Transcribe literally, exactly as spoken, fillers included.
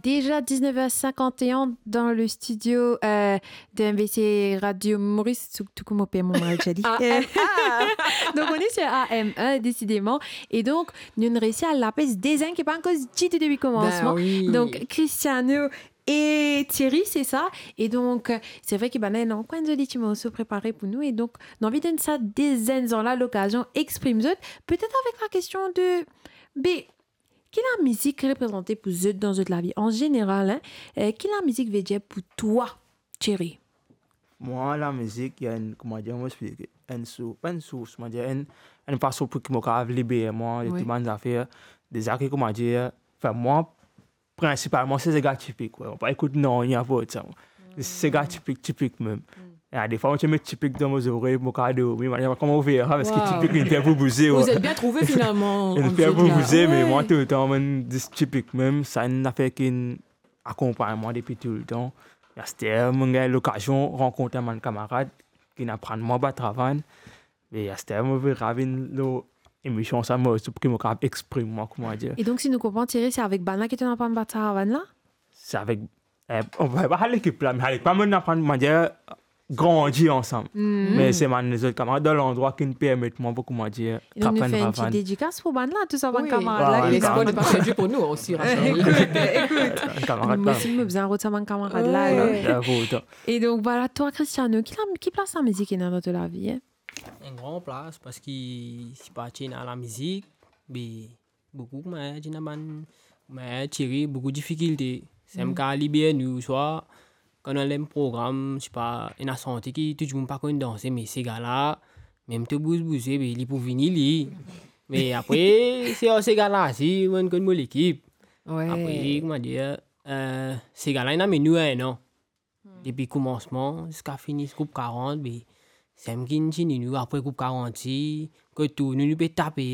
Déjà dix-neuf heures cinquante et un dans le studio, euh, de M V C Radio Maurice, tout, tout comme on peut, mon mal, j'ai dit. Euh, donc on est sur A M un, décidément. E donk, nou inn resi al lapes de zenn ki pa ankor ditou depi komansman. Ben oui. Donk, Cristiano e Thierry, se sa. E donk, se vre ki bann la, non, enn zoli ti morso prepare pou nou. E donk, nou anvi donn sa de zenn zan la lokazion exprim zot. Petet avek la kestion de, be, ki lamizik reprezante pou zot dan zot lavi? An zeneral, hein, euh, ki lamizik ve dir pou twa, Thierry? Mwa, lamizik, li enn, kouma dir, mo explike, enn sours, pa enn sours, kouma dir, enn, enn fason pou ki mo kapav liber mwa de tou bann zafer. Deza ki, kouma dir, anfin, mwa, prinsipalman, se sega tipik, wi. Mo pa ekout nanye apar sa, mwa. Sega tipik, tipik mem. E defwa, mo ti met tipik dan mo zorey, mo kapav dormi, mo pa kouma ou fer, paski tipik, li fer pou bouze, wi. Vous êtes bien trouvé, finalement, Li fer pou bouze, me mwa, toultan, mo zis tipik mem, sa enn zafer ki akonpagn mwa depi toultan. Aster, mo gagn lokazion rankont bann kamarad ki inn aprann mwa bat ravann. Me aster, mo pe ravinn lor emision sa, mo, ki mo kapav exprim mwa, kouma dir. E donk, si nou konpran, Thierry, se avek bann la ki to inn aprann bat ravann la? Se avek, eh, on va pas lekip la, me avek bann mo inn aprann, kouma dir, grandi ansam. Me se bann lezot kamarad dan landrwa ki inn permet mwa pou, kouma dir, trap enn ravann. E donk, nou fer enn ti dedikas pou bann la, tou sa bann kamarad la. Wi. Wi, wi. L'espoir n'est pas perdu pour nous aussi, rassurez-vous. Ekout, ekout. Bann kamarad la. Mwa osi, mo bizin rod sa bann kamarad la, hein. Wi. Bien, pou otan. E donk, vwala, twa, Cristiano, ki la, ki plas lamizik ena dan to lavi, hein? Enn gran plas, paski si pa ti ena lamizik, be, boukou, kouma dir, ena bann, kouma dir, Thierry, boukou difikilte. Sa, mo kapav liber nou, swa kan nou al dan program, sipa, ena sante ki tou dimoun pa konn danse, me sega la, mem to bouz bouze, be, li pou vini, li. Me apre, se ar sega la, si, mo konn mo lekip. Wi. Apre, kouma dir, eh, sega la, inn amenn nou enn an. Depi komansman ziska fini group karant, be, sa ki inn tini nou, apre group karant ti, kot tou, nou, nou pe tape,